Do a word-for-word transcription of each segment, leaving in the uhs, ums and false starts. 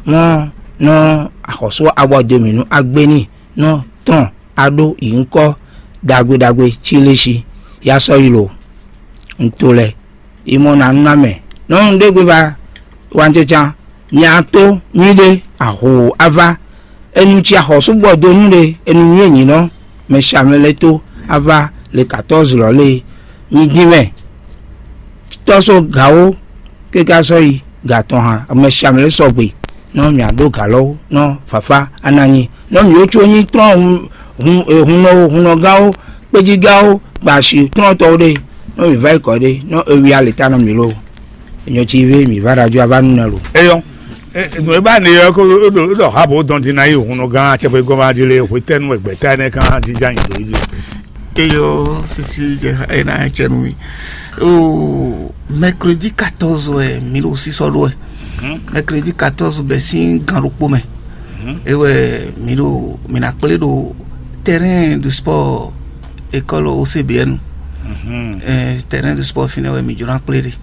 mɔ nɔ axɔ́sú abɔdemǐnú agbéní nɔ tɔn aɖó yi ŋkɔ ɖagbe ɖagbe cílési yá sɔ́ yi lo. Un to lɛ yi mɔ ná nú ná mɛ nɔ́ un ɖé gbe ba wancɛcan. Nya tó nyíɖé aho ava enu ci axɔ́sú gbɔ dó nú ɖe enu nyí nyǐnɔ mɛ shamɛ lɛ́ tó ava le katɔ́zi lɔ lée. Nyi dín mɛ tɔ́ só gǎ ó, ké ká sɔ́ yi gǎ tɔn hǎn. Mɛ siamɛ lɛ́ɛ sɔgbe, nɔ mǐ ɖó gǎ lɔ wú, nɔ fafá a ná nyi, nɔ mǐ ó có nyí tlɔ́n hun hun e hunnɔ ó, hunnɔgán ó, kpéjígán ó, gba asi tlɔ́ntɔ́ ó ɖe, nɔ mǐ vá yi kɔ ɖe, nɔ e wi alě ta nɔ mǐ lo. Enyɔ ci vé mǐ vá ɖo ajɔ a vá nú nɛ lo. Eyɔ, nǔ e ba ne yɔ ko ɖo ɖɔ ha bo dɔn din na yi hunnɔgán acɛkpɛ gɔn ma di le hwetɛnu egbɛta ne kan jinjin anyi do yi. Eyo sisi jɛ ena cɛ nú mi. O mercredi quatorze wɛ mi ɖo sísɔ ɖó wɛ. Mercredi quatorze bɛ sín gan ɖokpó mɛ. E wɛ mi ɖo mi na kplé ɖo terrain de sport école O C B N. Terrain de sport fínɛ́ wɛ mi jló ná kplé ɖe.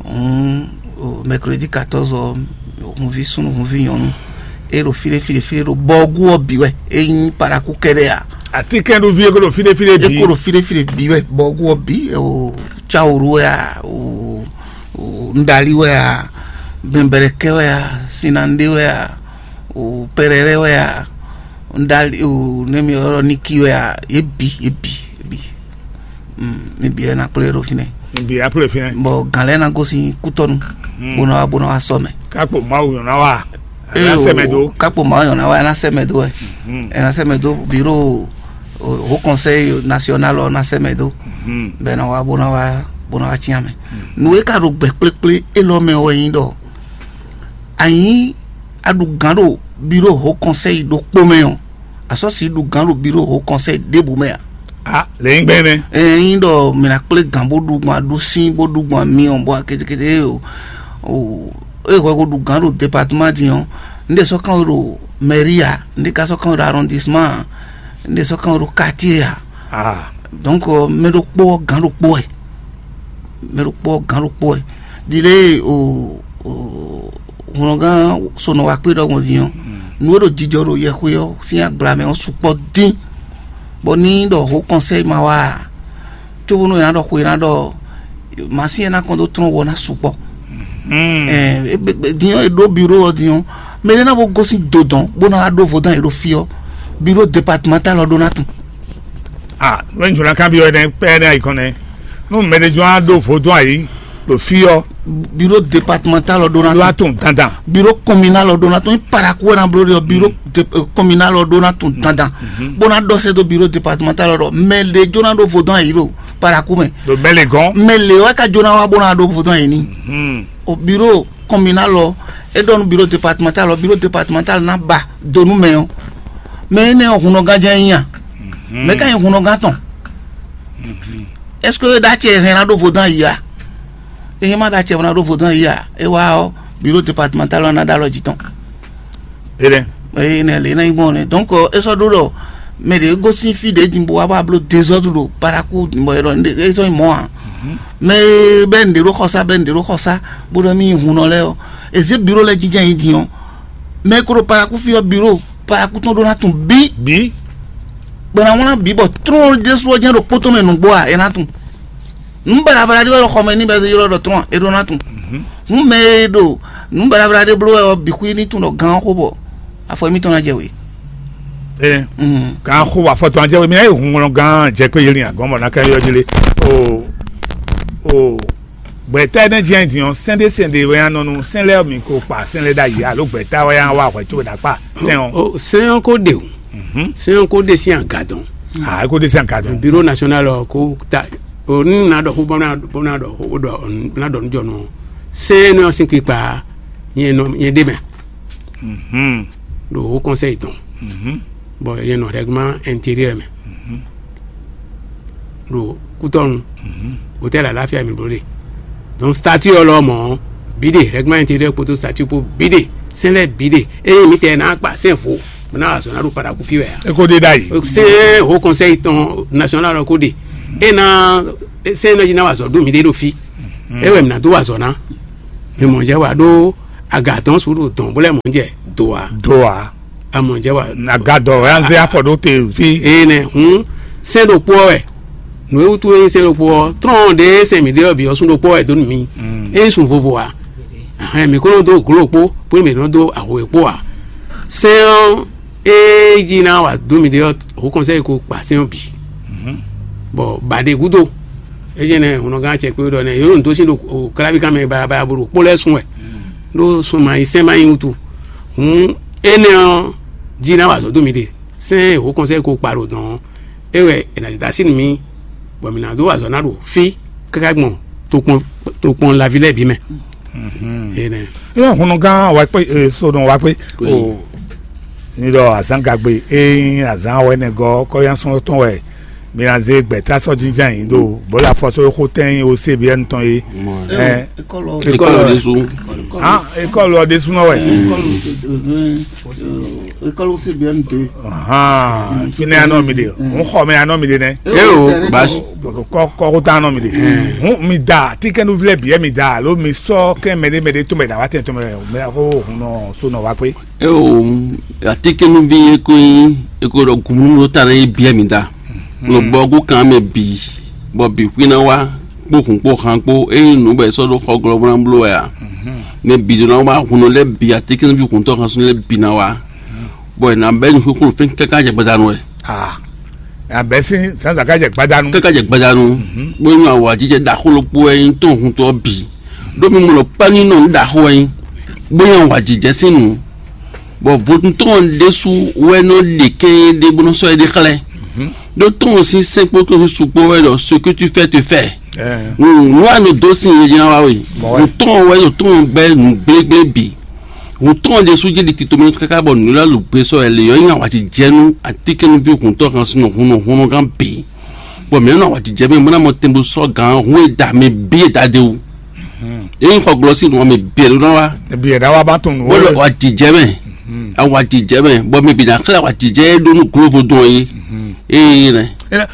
Hǔn mercredi quatorze ɔ́, hunví súnnu hunví nyɔ̌nu e ɖo fí ɖé fí ɖé fí ɖé ɖo bɔɔgú ɔ́ bǐ wɛ. É nyí paraku kɛɖɛ́ a? Atínkɛ́nɖóví e ko ɖo fí ɖé fí ɖé É bǐ. Ko ɖo fí ɖé fí ɖé bǐ wɛ, bɔɔgú ɔ́ bǐ, o cawoɖu wɛ a, o nɖali wɛ a, bɛnbɛrɛkɛ wɛ a, sinanɖé wɛ a, o pɛrɛrɛ wɛ a, nɖali o nɛmi ɔ́ niki wɛ a, yě bǐ yě bǐ yě bǐ. Mi bǐ wɛ ná kplé ɖo fínɛ́. Bǐ wɛ kplé fínɛ́. Bɔ gǎn lɛ́ɛ ná gosín kútɔ́nu bó ná wá bó ná wá sɔ́ mɛ. Kákpo Mawu nyɔ̌ná wa. Kákpo Mawu nyɔ̌ná wa ná sɛ́ mɛ dó wɛ. Ɛ ná sɛ́ mɛ dó biro hó kɔnsɛyi nasional ɔ́ ná sɛ́ mɛ dó. Bɛ ná wá bó ná wá bó ná wá cyán mɛ. Nǔ e ka ɖo gbɛ kplékplé élɔ́ mɛ wɛ nyí ɖɔ anyi a ɖu gǎn ɖo biro hó kɔnsɛyi ɖokpó mɛ ɔ́, a sɔ́ sixú ɖu gǎn ɖo biro hó kɔnsɛyi ɖěbǔ mɛ a? A lě nyí gbɛn nɛ́. Ɛ nyí ɖɔ mǐ ná kplé gǎn bó ɖu gbɔn aɖú sín bó ɖu gbɔn amyɔ bó akétékété o. É hwɛ ko ɖu gǎn ɖo departement din ɔ́, un ɖe sɔ́ kán ɖo mairie a, un ɖe ka sɔ́ kán ɖo arrondissement a, un ɖe sɔ́ kán ɖo quartier a. Donc mɛ ɖokpó ɔ́ gǎn ɖokpó wɛ. Mɛ ɖokpó ɔ́ gǎn ɖokpó wɛ. Ɖile o hwlɔngán sonɔ wa kpé ɖɔhun din ɔ́, nǔ e ɖo jijɔ ɖo yɛxwe ɔ́ sín agbla mɛ ɔ́ sukpɔ́ dín, bɔ ní ɖɔ hó kɔnsɛyi ma wá a, cóbónú è nǎ ɖɔ xwe ná ɖɔ masín e ná kɔn dó tlɔ́n wɔ ná sukpɔ́. Din ɔ́ è ɖó biro ɔ́ din ɔ́, mɛ ɖé ná bó gosín dodɔn bó ná wá ɖó vodán è ɖo fí ɔ́, biro departemental ɔ́ ɖó ná tun. Ah, nú ŋjɔlá kan byɔ́ ɛnɛ pɛ́ ɛnɛ ayǐ kɔn nɛ́. Nú mɛɖé jɔ́n á ɖó vodún ayǐ ɖo fí ɔ́, biro departemental ɔ́ ɖó ná ló wá tun. Tun dandan. Biro communal ɔ́ ɖó ná tun. Paraku wɛ ná bló ɖe ɔ́, biro communal ɔ́ ɖó ná tun dandan. Bó ná ɖɔ sɛ́ dó biro departemental ɔ́ ɖɔ mɛ lě jɔ́n ná ɖó vodún ayǐ ɖo paraku mɛ. Ɖo mɛ lě gɔ́n. Mɛ lě wɛ ka jɔ́n ná wá bó ná ɖó vodún ayǐ ní. O biro communal ɔ́, é ɖɔ nú biro departemental ɔ́, biro departemental ná ba do nú mɛ ɔ́. Mɛ énɛ́ ɔ́, hunnɔgán jɛ́n é nyí a? Mɛ ka nyí hunnɔgán tɔn? Est-ce que é ɖó acɛ hɛn ná ɖó vodán yi a? Ényí é má ɖó acɛ ná ɖó vodán yi a, é wá ɔ́, biro departemental ɔ́ ná ɖó alɔ jí tɔn. Énɛ́. Eye nɛ lě ná nyí gbɔn nɛ. Donc é sɔ́ ɖó ɖɔ mɛ ɖě gosín fí ɖě din bó wá bá bló désordre ɖo paraku bɔ é ɖɔ é sɔ́ nyí mɔ̌ ǎ. Mɛ e bɛ́ nǔɖé ɖó xɔsá bɛ́ nǔɖé ɖó xɔsá bó ɖɔ mì nyi hunnɔ lɛ́ɛ ɔ́, è zě biro lɛ́ɛ jínjɔ́n nyi din ɔ́, mɛ e ko ɖo paraku fí ɔ́ biro paraku tɔn ɖó ná tun bí. Bí. Gbɛ̌ ná wlán bǐ bɔ tlɔ́n ɖésú ɔ́ jɛ́n ɖo kpótó mɛ nǔgbó a, é ná tun. Nǔ baɖabaɖa ɖé wɛ ɖo xɔ mɛ ní bɛ́ ylɔ́ ɖɔ tlɔ́n a, é ɖó ná tun. Hǔn mɛ e ɖo nǔ baɖabaɖa ɖé bló wɛ ɔ́ bǐ xwí ní tun ɖɔ gán ɔ́ xó bɔ afɔ émítɔn ná jɛ wě. Ɛ Mm. Gán xó afɔ tɔn ajɛ wě mi ayé hun ŋlɔ gán jɛ kpé yeli agɔn bɔ ná ká yɔ jí lé. O o gbɛtɛ ne jɛ din ɔ sɛnde sɛnde wɛ anɔ nu sɛn lɛ mi ko kpa sɛn lɛ da yi alo gbɛtɛ wɛ an wa hwɛ tso da kpa sɛn ɔ. O sɛn ɔn ko de o. Sɛn ɔn ko de sin aga dɔn. Ah, ko de sin aga dɔn. Bureau national ɔ ko ta o ni na dɔ ko bɔ na bɔ na dɔ ko dɔ na dɔ nu jɔ nu. Sɛn nɔ sin kpikpa yɛn nɔ yɛn de mɛ. Do o conseil tɔn. Bɔn yɛn nɔ règlement intérieur mɛ. Ɖo kútɔnu. Hôtel Alafia mi bló ɖe. Donc statut ɔ́ lɔ mɔ̌ bǐ ɖe, règlement intérieur kpódó statut kpó bǐ ɖe, sɛn lɛ́ɛ bǐ ɖe. Ényí mǐtɛɛ ná kpa sɛn vo bó ná wá zɔ ná ɖo paraku fí wɛ a? E ko ɖe ɖ'ayǐ. Sɛn haut conseil tɔn national ɔ́ ko ɖe. É ná sɛn nɔ jí ná wá zɔ ɖó mǐ ɖe ɖo fí. É wɛ mǐ ná dó wá zɔ ná. Mi mɔ jɛ wá ɖó Aga dɔn su ɖo dɔn bó lɛ mɔ jɛ do a. Do a. Amɔ jɛ wa. Aga dɔ ya zé afɔ ɖo te fi. Eye nɛ hun sɛn ɖokpó wɛ. Nu e wutu e sɛn ɖokpó ɔ trɔn ɖe sɛn mi ɖe ɔ bi ɔ sun ɖokpó wɛ do nu mi. E sun vovo a. Ahɛn mi ko nɔ do glo kpó, po mi nɔ do aho e kpó a. Sɛn ɔ e ji na wa do mi ɖe ɔ ho kɔnsɛ ko kpa sɛn ɔ bi. Bɔn baɖe gudo. Eyi nɛ hunɔgán cɛ kpé ɖɔ nɛ yóò dó sín ɖo kláví kan mɛ balabala bo ɖo kpó lɛ́ɛ sun wɛ. Ɖó sun ma yi sɛn ma yi wutu. Hǔn énɛ́ ɔ́ jí ná wa azɔ̌ dó mi ɖe. Sɛ́n e wǒ kɔnsɛ́ ko kpa ɖo dɔ̌n ɔ́, é wɛ è nǎ da sí nú mì, bɔ mǐ ná dó wa azɔ̌ ná ɖo fí káká gbɔn tokpɔn tokpɔn laví lɛ́ɛ bǐ mɛ. Énɛ́. Yɔn hunnugán wa kpé, sodɔn wa kpé. O ní ɖɔ azán gagbe é nyí azán wɛ nɛ gɔ́ kɔ́yánsɔn tɔn wɛ. Mi ná zé gbɛ̌ta sɔ́ jínjɔ́n ayǐ ɖo bɔ̌ lɛ afɔsɔ́ e xó tɛ́n nyí O C B N tɔn é. Ɛ, École ɖésú. Ah, école ɔ́ ɖésúnɔ wɛ. École, euh, euh, école O C B N deux. Ahan, fínɛ́ anɔ mi ɖe. Ń xɔ mɛ anɔ mi ɖe nɛ. Eo, basi. Kɔ kɔ kó tá anɔ mi ɖe. Hún mi da tíkɛnúvlɛ bǐ mi da alo mi sɔ kɛn mɛɖé mɛɖé tó mɛ dǎ wá tɛn tó mɛ mɛ ko hun nɔ so nɔ wá kpé. Eo, atíkɛnúví e ko nyí e ko ɖɔ gǔmúnú ɖó ta ná yi biɛ mi da. Lobɔ kó kan mɛ bǐ, bɔ bǐ xwí ná wá kpó hun kpó han kpó ényí nǔ bɔ è sɔ́ ɖó xɔ glɔ́ bó ná bló wɛ a? Mɛ bǐ ɖó ná wá hun nɔ lɛ́ɛ bǐ, atíkɛnúví hun tɔ́ han sún lɛ́ɛ bǐ ná wá, bɔ è nǎ bɛ́ nǔ xóxó fɛ́n káká jɛ gbadanu wɛ. Ah, abɛ sín zǎnzǎn ká jɛ gbadanu. Káká jɛ gbadanu, bó nyí awǎjijɛ ɖaxó ɖokpó wɛ nyí tɔn hun tɔ́ bǐ. Ɖó mi mɔ ɖɔ kpɛ́núnɔ ɖaxó wɛ nyí, bó nyí awǎjijɛ sín nǔ. Bɔ vodún tɔn ɖésú wɛ nɔ ɖe kɛ́n ɖé bó nɔ sɔ́ é ɖe xlɛ́. Ɖó tɔn sín sɛ́nkpɔ́ kpó sín sukpɔ́ wɛ ɖɔ ce que tu fais te fais. Nǔ a nɔ dó sin yě ná wá wɛ. Nǔ tɔn wɛ nɔ tɔn bɛ́ nǔ gblégblé bǐ. Hun tɔn ɖésú jí ɖi tito mɛ káká bɔ nǔ lɛ́ɛ lǒ gbé sɔ́ wɛ lě ɔ́ nyí awǎjijɛnú atínkɛnúví huntɔ́ han súnɔ hunnɔ hunnɔgán bǐ. Bɔ mǐ nɔ awǎjijɛ mɛ bó ná mɔ tɛn bó sɔ́ gǎn hun e da mɛ bǐ e da de wú. Ényí xɔ glɔ́ sín nǔ ɔ́ mɛ bǐ e ɖó ná wá. Bǐ e ná wá bá tɔn nǔ bó lɔ awǎjijɛ mɛ. Awǎjijɛ mɛ bɔ mɛ bǐ ná xlɛ́ awǎjijɛ e ɖó nú glóvodún ɔ́ é. Ée nɛ.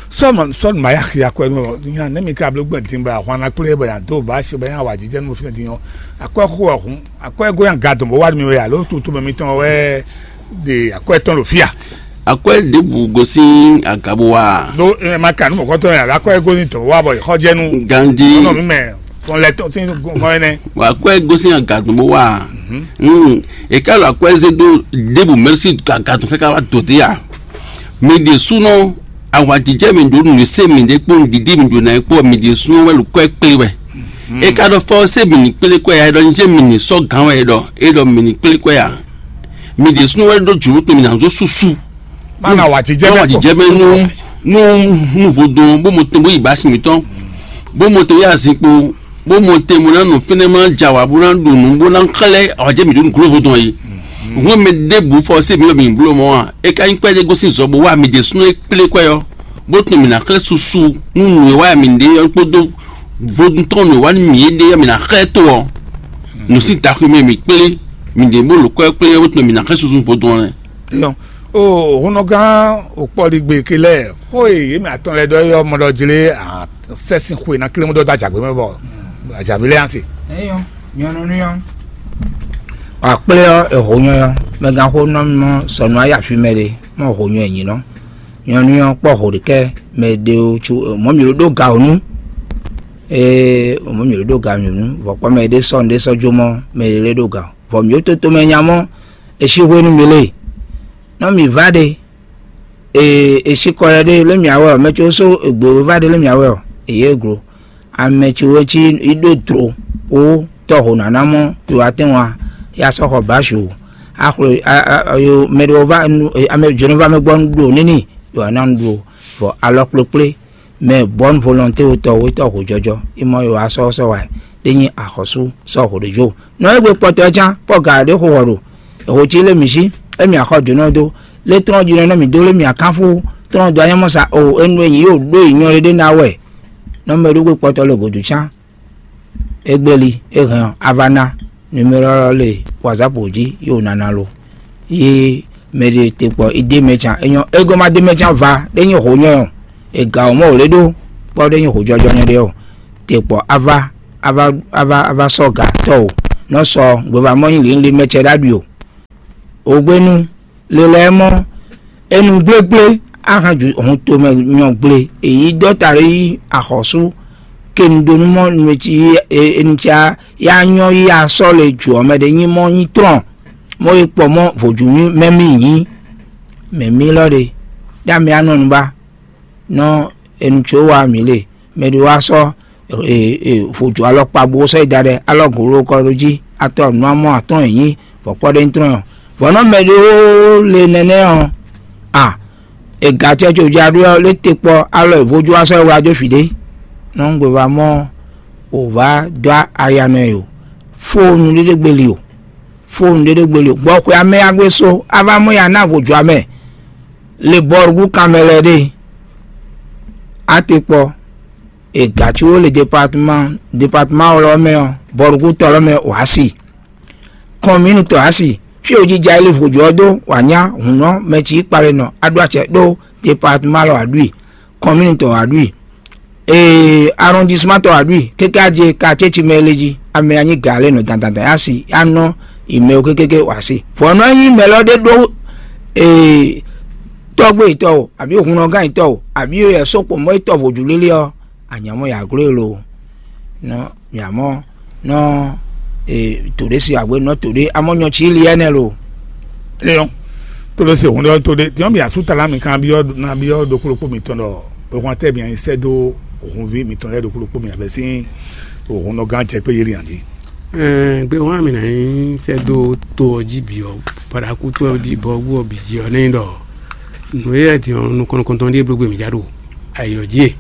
Sɔ́ sɔ́ nǔ ma yá xia kwɛ nú nya nɛ́ mi ka bló gbɛn din bɔ ahwan ná kplé bɔ nya dó bá se bɔ nya awǎjijɛ nú fínɛ́ din ɔ́. Akwɛ́ xo ɔ́ hun akwɛ́ gó nyi aga dɔn bó wá mi wɛ alo tutu mɛ mitɔn wɛ ɖe akwɛ́ tɔn ɖo fíà. Akwɛ́ ɖěbǔ gosín aga bó wá. Ɖó ɛ ma ka nú mɔ̌kɔtɔn yɛ akwɛ́ gosín dɔn bó wá bɔ xɔ jɛ nú. Ganjí. Nɔ mi mɛ fɔn lɛ tɔn sín gɔn ɛnɛ. Akwɛ́ gosín aga dɔn bó wá. Eka lɔ akwɛ́ zé dó ɖěbǔ mɛsí aga dɔn fɛ ká wá dò dé ya. Mi ɖe súnɔ awǎjijɛ mi ɖo nǔ se mi ɖe kpó nǔɖiɖi mi ɖo ná kpó mi ɖe súnɔ wɛ lukɔ kplé wɛ. E ka ɖɔ fɔ se mi ní kplé kɔ ya ɖɔ njé mi ní sɔ gán wɛ ɖɔ e ɖɔ mi ní kplé kɔ ya. Mi ɖe súnɔ wɛ ɖo jǔlú tɔn mi ná zó súsú. Mana wà jíjẹ́ mẹ́ kɔ. Wà jíjẹ́ mẹ́ nú nú nú vodun bó mo tɛn bó yi bá si mi tɔn bó mo tɛn yi azikpo bó mo tɛn mo ná nɔ fínɛ́ má dza wà bó ná ɖo nǔ bó ná xlɛ́ awǎjɛ mi ɖo nǔgló vodun yi. Hwɛn mɛ ɖěbǔ fɔ se mi wɛ mi bló mɔ a? E ka nyí kpɛɖé gosín zɔ bó wá mi ɖe súnɔ e kplé kɔ yɔ. Bó tun mǐ ná xlɛ́ susu nú nǔ e wa mǐ ɖe ɔ́ kpódó vodún tɔn nǔ e wa nú mǐ é ɖe ɔ́, mǐ ná xlɛ́ tó ɔ́. Nǔ sín taxu mɛ mǐ kplé, mǐ ɖě bó lǒ kɔ́ ɛ kplé ɔ́, bó tun mǐ ná xlɛ́ susu vodún ɔ́ lɛ́ɛ. Yɔ, o honɔgán òkpɔligbe ke lɛ xó e yě mɛ atɔn lɛ ɖɔ yɔ mɔ ɖɔ jlé sɛsin xwe ná klémú ɖɔ dó ajagbe mɛ bɔ ajagbe lɛ asi. Eyɔ, nyɔnu nú yɔ. Akplé ɔ́, eho nyɔ yɔ, mɛ gán xó nɔ mɔ sɔnu ayé afi mɛ ɖe, mɔ ho nyɔ enyi nɔ. Nyɔnu ɔ́ kpɔ ho ɖe kɛ mɛ ɖe o tsu mɔ mi ɖo ɖó ga o nu. Ee, mɔ mi ɖo ɖó ga mi nu, vɔ kpɔ mɛ ɖe sɔ ɖe sɔ jo mɔ mɛ ɖe lɛ ɖó ga. Vɔ mi ɖo toto mɛ nya mɔ, e si hwenu mi lé. Nɔ mi va ɖe, ee, e si kɔ yɛ ɖe lé mi awɛ ɔ, mɛ tso so egbe va ɖe lé mi awɛ ɔ, e yɛ glo. Ame tso e cí yi ɖó dro wo tɔ́ ho nǎná mɔ to atɛ́n wa ya sɔ́ xɔ bǎ su. Axlo yo mɛ ɖo va ame jǒnɔ va mɛ gbɔ nu ɖo níní yo ana nu ɖo vɔ alɔ kplekplé. Mɛ bɔn volonté wotɔ wetɔ ho jɔjɔ imɔ yo asɔ sɔ wa ɖe nyi axɔsú sɔ ho ɖe jo. Nɔ egbe kpɔtɔ can pɔ ga ɖe xo wɔ ɖo eho ci lé mi sí emi axɔ jǒnɔ do lé trɔn jinɔ nɔ mi do lé mi akanfu trɔn do anyamɔ sa o enu enyi yo ɖo yi nyɔ ɖe na wɛ. Nɔ mɛ ɖo gbe kpɔtɔ le godu can. Egbeli e hɛn ɔ́, a va ná numéro ɔ́ le WhatsApp jí yi wǒ nana lo. Yi mɛ ɖe te kpɔ idée mɛ can é nyɔ́ é gɔ́ má dé mɛ can va ɖé nyí hǒ nyɔ́ ɔ́, è gǎ wǒ mɔ wǒ lé ɖó kpɔ́ ɖé nyí hǒjɔ́jɔ́ nyɔ́ ɖé ɔ́, te kpɔ a va a va a va a va sɔ́ gǎ tɔ́ o. nɔ sɔ gbevamɔ nyi lǐnlin mɛ ce ɖ'aɖui o. Ogbénu, lelɛ́ mɔ, enu gblégblé, ahan ju hɔn tomɛ nyɔ gble, èyí dɔ́ta ɖé yí axɔ́sú, ke nu ɖó nú mɔ nu e ci enu ca ya nyɔ yí asɔ́ le jǔ ɔ́ mɛ ɖé nyí mɔ nyí trɔn, mɔ yi kpɔ mɔ vodúnú mɛ mì nyí. Mɛ mì lɔ ɖe, ɖ'amɛ anɔ nu ba nɔ enu tso wa mǐ le, mɛ ɖé wá sɔ́ vodú alɔkpa bó sɔ́ yi da ɖɛ alɔ gǒló kɔ ɖó jí, atɔ nǔ amɔ atɔ́ɔ́n è nyí, bɔ kpɔ́ ɖé nyí trɔ́n ɔ́. Vɔ̌ nɔ mɛ ɖó le nɛnɛ́ ɔ́, a è gǎ acɛ co ja ɖó ɔ́, lé te kpɔ alɔ è vodú wá sɔ́ yi wlá jó fǐ ɖé. Nɔ un gbe va mɔ wǒ vá dó aya nɔ ɛ o, fó nú ɖéɖé gbeli o, fó nú ɖéɖé gbeli o, gbɔ xwe amɛ ya gbé só, a va mɔ ya ná vodú amɛ le bɔ́ ɖu kanmɛ lɛ́ɛ ɖe. A te kpɔ è gǎ cí wó le departement departement lɔ́ mɛ ɔ́, bɔɖuxútɔ́ lɔ́ mɛ wǎ si, kɔnmínútɔ́ á si, fí e wojija e lí vodún ɔ́ dó wǎ nyá hǔn ɔ́ mɛ cí kpale nɔ á ɖó acɛ ɖó departement lɔ wǎ ɖui, kɔnmínútɔ́ wǎ ɖui, ee arrondissement tɔ́ wǎ ɖui, kéké á je quartier ci mɛ e lé jí, amɛ anyí gǎ lé nɔ dandan dandan á si á nɔ yi mɛ wú kékéké wǎ si. Vɔ̌ nɔ nyí mɛ lɔ ɖé ɖó ee tɔ́gbé yětɔn o, abǐ hunɔgán yětɔn o, abǐ yɛ sókpomɔ yětɔn vodún lélé ɔ́, anyǎmɔ yǎ gló e lo nɔ mǐ amɔ nɔ e to ɖé si agbe nɔ to ɖé amɔ nyɔ cí li ɛnɛ lo. Eyɔn, to ɖé si òun ɖɔ to ɖé tiɲɔ mi asú tala mi kan byɔ na byɔ ɖokpó ɖokpó mitɔn ɖɔ ehwan tɛ mi anyi sɛ dó òhunví mitɔn lɛ ɖokpó ɖokpó mi abɛ sín òhunnɔgán jɛ kpé yeli andi. Ɛɛ, gbe wọn mi na nyi sɛ dó to ɔ jí bi ɔ, paɖaku to ɔ jí bɔ wú ɔ bǐ jí ɔ nɛ ɖɔ nǔ e yɛ din ɔ nukɔn nukɔntɔn ɖíe bló gbe mǐ já ɖo ayǐ ɔ́ jí e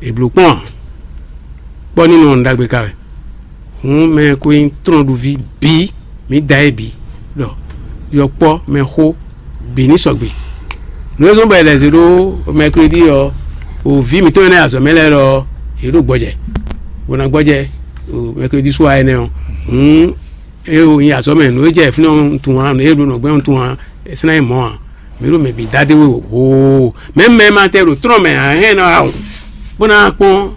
è blǒ kpɔ́n ǎ. Kpɔ́ ní nɔ ɖagbe ka wɛ. Hǔn mɛ ko nyí trɔ́nɖuví bǐ, mǐ da é bǐ ɖɔ yɔkpɔ́ mɛxó bǐ ní sɔgbe. Nǔ e zɔ́n bɔ è lɛ̌ zé ɖó mɛklódi ɔ́, o vǐ mǐtɔn e ná yi azɔ̌ mɛ lɛ́ɛ lɔ ɔ́, yě ɖo gbɔjɛ, bó ná gbɔjɛ mɛklódi sú wa énɛ́ ɔ́. Hǔn é o nyi azɔ̌ mɛ, nǔ e jɛ fínɛ́ ɔ́ tunwun ǎ, nǔ e ɖo nɔ̌gbɛ́ ɔ́ tunwun ǎ, é sɛ́n ná nyí mɔ̌ ǎ. Mǐ ɖo mɛ bǐ dá dé we hoo. Mɛ̌ mɛ ma tɛ ɖo trɔ́n mɛ ǎ hɛn ná wá hǔn, bó ná kpɔ́n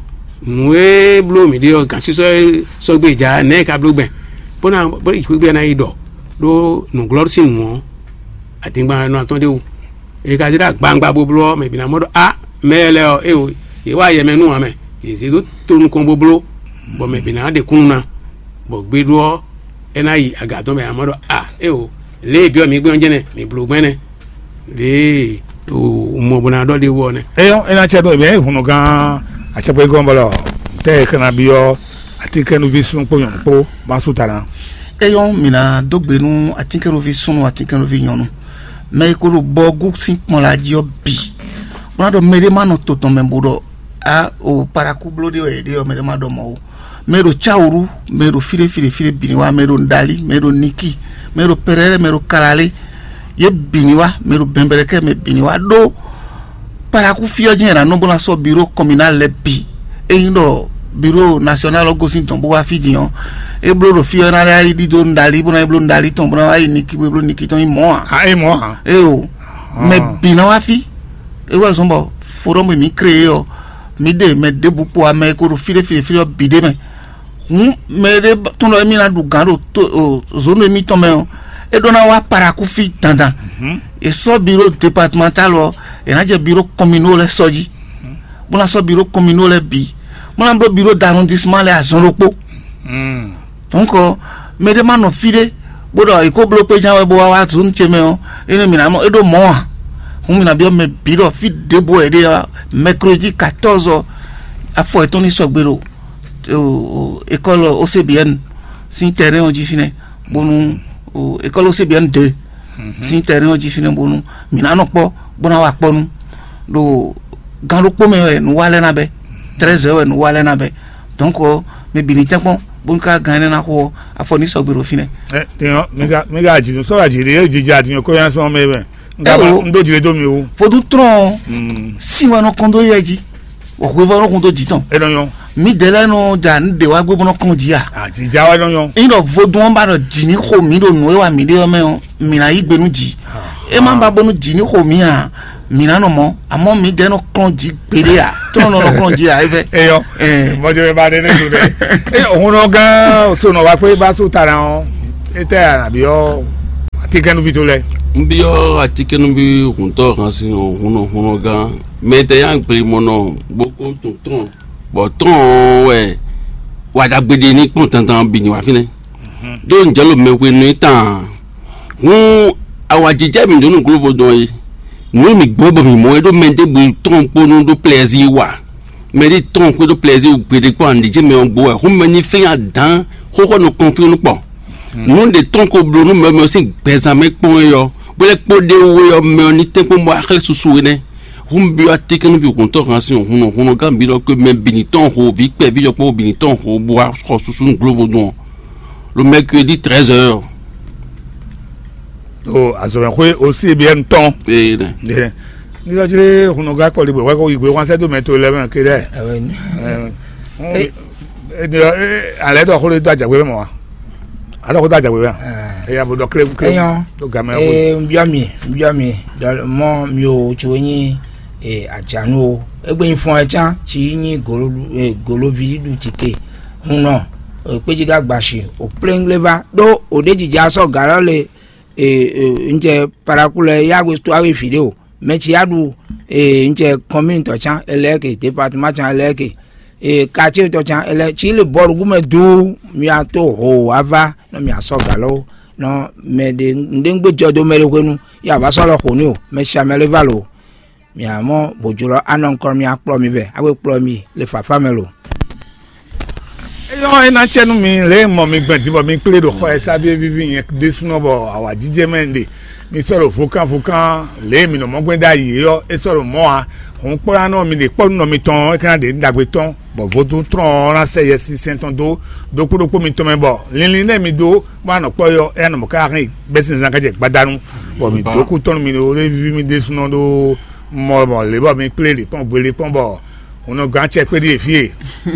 nǔ e bló mǐ ɖe ɔ́, gǎnsísɔ́ e sɔ́ gbé ja nɛ̌ e ka bló gbɛn, bó ná bó yi xwé gbe ná yi ɖɔ ɖó nǔglɔ́ sín nǔ ɔ́, adingban nɔ atɔ́n ɖé wú. È ka zé ɖó agbawungba bó bló ɔ́, mɛ bǐ ná mɔ ɖɔ á mɛ lɛ́ɛ ɔ́, éeǒ, yě wa yɛ mɛ nú ǎ mɛ, yě zé dó to nukɔn bó bló, bɔ mɛ bǐ ná ɖe kúnnu ná, bɔ gbeɖó ɔ́, é ná yi aga tɔn mɛ ǎ mɔ ɖɔ a éeǒ, lě e è byɔ́ mǐ gbɛn ɔ́ jɛ́n nɛ́, mǐ bló gbɛn nɛ́. Lě e mɔ bó ná ɖɔ ɖ'é wú ɔ́ nɛ́. Eyɔ́ é ná cɛ ɖó mɛ hunnɔgán acɛkpɔ́yígɔ́n bɔlɔ tɛ́ e xlɛ́ ná byɔ́ atínkɛ́núví súnnu kpó nyɔ̌nu kpó má sú ta ná. Eyɔ́ mǐ ná dó gbe nú atínkɛ́núví súnnu atínkɛ́núví nyɔ̌nu, mɛ e ko ɖo bɔgú sín kpɔn la jí ɔ́ bǐ, bó ná ɖɔ mɛɖé má nɔ to tɔn mɛ bó ɖɔ a o paɖakú bló ɖé wɛ yě ɖe ɔ́, mɛɖé má ɖɔ mɔ̌ ó. Mɛ e ɖo Cáwǔɖu, mɛ e ɖo fí ɖé fí ɖé fí ɖé bǐ ní wá, mɛ e ɖo Nǔɖalí, mɛ e ɖo Nikí, mɛ e ɖo Pɛrɛ́lɛ́, mɛ e ɖo Kalalé, yě bǐ ní wá, mɛ e ɖo Bɛnbɛlɛkɛ́, mɛ bǐ ní wá ɖó Paɖakú fí ɔ́ jɛ́n è nǎ nɔ bó ná sɔ́ biró kɔminál lɛ́ɛ bǐ. Ényí ɖɔ biró nasyɔnál ɔ́ gosín dɔ̌n bó wá fí din ɔ́, é bló ɖo fí ɔ́ ná lɛ́ yi ɖidó Nǔɖalí bó ná yi bló Nǔɖalí tɔn bó ná wá yi Nikí bó yi bló Nikí tɔn nyí mɔ̌ ǎ. A é mɔ̌ ǎ. Éeǒ, mɛ bǐ ná wá fí. É wɛ zɔ́n bɔ fodɔ́ e mǐ kreyé ɔ́, mǐ ɖe mɛ ɖěbǔ kpo amɛ e ko ɖo fí ɖé fí ɖé fí ɖé ɔ́ bǐ ɖ'é mɛ. Hǔn mɛ ɖé tunwun ɖɔ émí ná ɖu gǎn ɖo zǒnu émítɔn mɛ ɔ́, é ɖó ná wá Paɖakú fí dandan. È sɔ́ biró departemental ɔ́, è nǎ jɛ biró kɔmino lɛ́ɛ sɔ́ jí, bó ná sɔ́ biró kɔmino lɛ́ɛ bǐ, bó ná bló biró d'arrondissement lɛ́ɛ azɔn ɖokpó. Donc mɛ ɖé má nɔ fí ɖé bó ɖɔ è ko bló kpéján wɛ bó wá wá zǒnu ce mɛ ɔ́, énɛ́ mǐ ná mɔ é ɖó mɔ̌ ǎ. Hǔn mǐ ná byɔ́ mɛ bǐ ɖɔ fí ɖěbǔ wɛ è ɖe ɔ́, mercredi quatorze ɔ́, afɔ yětɔn ní sɔgbe ɖo école O C B N sín terrain ɔ́ jí fínɛ́, bónú école O C B N deux sín terrain ɔ́ jí fínɛ́, bónú mǐ ná nɔ kpɔ́ bó ná wa kpɔ́ nú ɖo gan ɖokpó mɛ wɛ nǔ wa lɛ́ɛ ná bɛ́, treize heures wɛ nǔ wa lɛ́ɛ ná bɛ́. Donc mɛ bǐ ní tɛ́nkpɔ́n bónú ká gan énɛ́ ná xo ɔ́, afɔ ní sɔgbe ɖo fínɛ́. Ɛ tiɲɔ mi ka mi ka jǐ sɔ́ ka jǐ ɖe jǐjɛ atinyɔ kó yá sɔ́ mɛ bɛ n ka ma Ewo. N ɖó jǐ ɖé dó mi wú. Vodún trɔn Mm. sin wɛ nɔ kɔn dó yɛ jí, wɔ hwevɔ nɔ kɔn dó jǐ tɔn. E nɔ nyɔ. Mi dɛ lɛ nɔ da nu de wa gbé bó nɔ kɔn jí a. A jǐjá wɛ nɔ nyɔ. Yin ɖɔ vodún ɔ́ ba ɖɔ jǐ ní xo mǐ ɖo nǔ e wa mǐ ɖe ɔ́ mɛ ɔ́, mǐ ná yí gbe nú jǐ. E má ba bónú jǐ ní xo mǐ a, Mǐ ná nɔ mɔ, amɔ̌ mǐdɛɛ nɔ kplɔ́n jí gbeɖé ǎ. Trɔ́n nɔ nɔ kplɔ́n jí ǎ, é fɛ. Eyɔ. Ɛɛ. Mɔjɔ bɛ ba ɖe ne do ɖe. E hunɔ gán osonɔ wa kpé ba so ta na ɔ. Etɛ anabi ɔ. Atikɛnuvi to lɛ. N byɔ́ atikɛnuvi huntɔ hàn sin ɔ, hunnɔ hunnɔ gán. Mɛ tɛ yá gbe mɔ nɔ bó kó tun tɔn. Bɔ tɔn ɔ wɛ wa ɖagbe ɖe ní kpɔn tantan bǐ ní wá fínɛ́. Ɖó un jɛ lo mɛ hwenu e tán. Hǔn awǎjijɛ mǐ ɖó nǔ glóvo dɔn é. Nǔ e mǐ gbɔ bɔ mǐ mɔ é ɖó mɛ ɖěbǔ tɔn kpó nú ɖó plɛ́zí wa. Mɛ ɖé tɔn xwé ɖó plɛ́zí gbeɖé kpó anɖě mɛ ɔ́ gbo wɛ. Hǔn mɛ ní fɛ́n adǎn xóxó nɔ kɔn fí nukpɔ. Nǔ ɖě tɔn ko bló nú mɛ mɛ ɔ́ sín gbɛzán mɛ kpɔ́n é ɔ́, bó lɛ́ kpó ɖé wú é ɔ́, mɛ ɔ́ ní tɛ́nkpɔ́n bó wá xlɛ́ susu énɛ́. Hǔn byɔ́ atínkɛ́núví hǔntɔ́ hǎn sín hǔnnɔ húnnɔ gán bǐ ɖɔ kpé mɛ bǐ ní tɔn ho, vǐ kpɛví yɔkpɔ́ bǐ ní tɔn ho bó wá xɔ susu nú glóvodún ɔ́, ɖo mɛkuédi trɛ́zɛ ɔ́. O azɔ̌mɛxwé osí biyɛ́nu tɔn. Ee nɛ. Nìyẹn. Nígbà tí hùnú gá kpɔ̀lì bò wákò yìí gbé wọ́n sẹ́dó mɛ tó lẹ́mẹ̀ kéde. Alẹ́ dɔ xó lé dó àjàgbé mɛ mɔ wa. Alẹ́ kó dó àjàgbé mɛ. Eya bò dɔ kléwu kléwu. Eyɔn. Tó gamɛ kó. Ee, n byɔ́ mi, n byɔ́ mi, ɖɔ mɔ mi ò tso nyi, ee, àjǎnu o. Égbé nyi fɔn ɛ cán, tsi nyi golo, ee, goloví ɖu tike. Hun nɔ, ee, kpéjí ká gbashi, o plénglé va, ɖó o ɖé jija sɔ gǎ lɔ le, ee, ee, n jɛ paraku lɛ yá we tó awe vǐ ɖé o. Mɛ tsi yá ɖu, ee, n jɛ kɔnmínitɔ cán, e lɛ́ɛ ke, département cán, e lɛ́ɛ ke, ee, quartier tɔ cán, e lɛ́ɛ tsi le bɔlu gúmɛ duu, mi a tó ho ava, nɔ mi a sɔ gǎ lɔ, nɔ mɛ ɖe, nɖé ŋgbé jɔ dó mɛ ɖé hwenu, ya va sɔ́ lɔ xo n'i o, mɛ tsi amɛ lé va lo. Mia mɔ bojlɔ anɔ nukɔn mia kplɔ mi vɛ, awe kplɔ mi le fafa mɛ lo. Eyɔn e ná cɛ nú mi lě e mɔ mi gbɛn din bɔ mi kplé ɖo xɔ e sáví e víví nyɛ ɖésúnɔ bɔ awǎjijɛ mɛ ɖe mi sɔ́ ɖo vokán vokán lě e mi nɔ mɔ gbɛn ɖ'ayǐ é ɔ́, é sɔ́ ɖo mɔ̌ ǎ. Hǔn kpɔ́ ná nɔ mi ɖe kpɔ́ nú nɔ mitɔn ɔ́, é ka ná ɖe nǔ ɖagbe tɔn, bɔ vodún tlɔ́n ɔ́ ná sɛ Yɛsinsɛn tɔn dó ɖokpó ɖokpó mitɔn mɛ, bɔ linlin nɛ́ mi dó bó ná nɔ kpɔ́ é ɔ́, é ná nɔ mɔ̌ káká hɛn bɛ́sínzán ká jɛ gbadanu, bɔ mi dó kú tɔn nú mi ɖó lé víví mi ɖésúnɔ ɖó mɔ bɔ lě bɔ mi kplé lě kpɔ́n gbe lě kpɔ́n bɔ hunnɔgán acɛ kpé ɖíe fí e,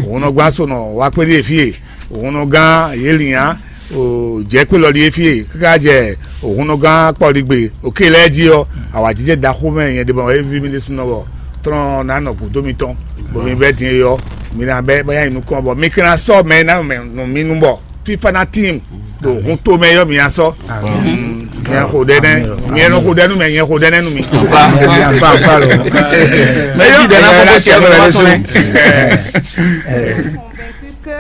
hunnɔgán sonɔ wá kpé ɖíe fí e, hunnɔgán yělinya jɛ kpé lɔ ɖíe fí e, káká jɛ hunnɔgán kpɔligbe òkè lɛ́ɛ jí ɔ́, awǎjijɛ ɖaxó mɛ nyɛ ɖe bɔ é ví mi ɖésúnɔ bɔ tlɔ́n ná nɔ gǔdo mitɔn, bɔ mi bɛ́ din e ɔ́, mi ná bɛ́ bá nyi nukɔn bɔ mi ka ná sɔ́ mɛ e ná nɔ mɛ nɔ mi nu bɔ fífá ná tíin ɖo hun tomɛ yɔ mi asɔ. Nyɛ xo ɖɛ nɛ, nyɛ nɔ xo ɖɛ nu mɛ, nyɛ xo ɖɛ nɛ nu mi. Mɛ yi ɖɛ na kɔkɔ sɛ mɛ lɛ so. Convaincu que,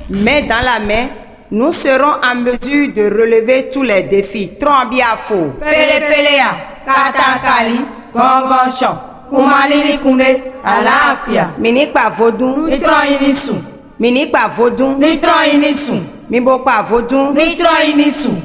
main dans la main, nous serons en mesure de relever tous les défis. Trɔn bi afo. Pele pele ya, kata kali, gɔngɔn sɔ, kuma lili kunde, alafia. Mi ní kpa vodún. Ní trɔn yi ní sùn. Mi ní kpa vodún. Ní trɔn yi ní sùn. Mi bo kpa vodún. Ní trɔn yi ní sùn.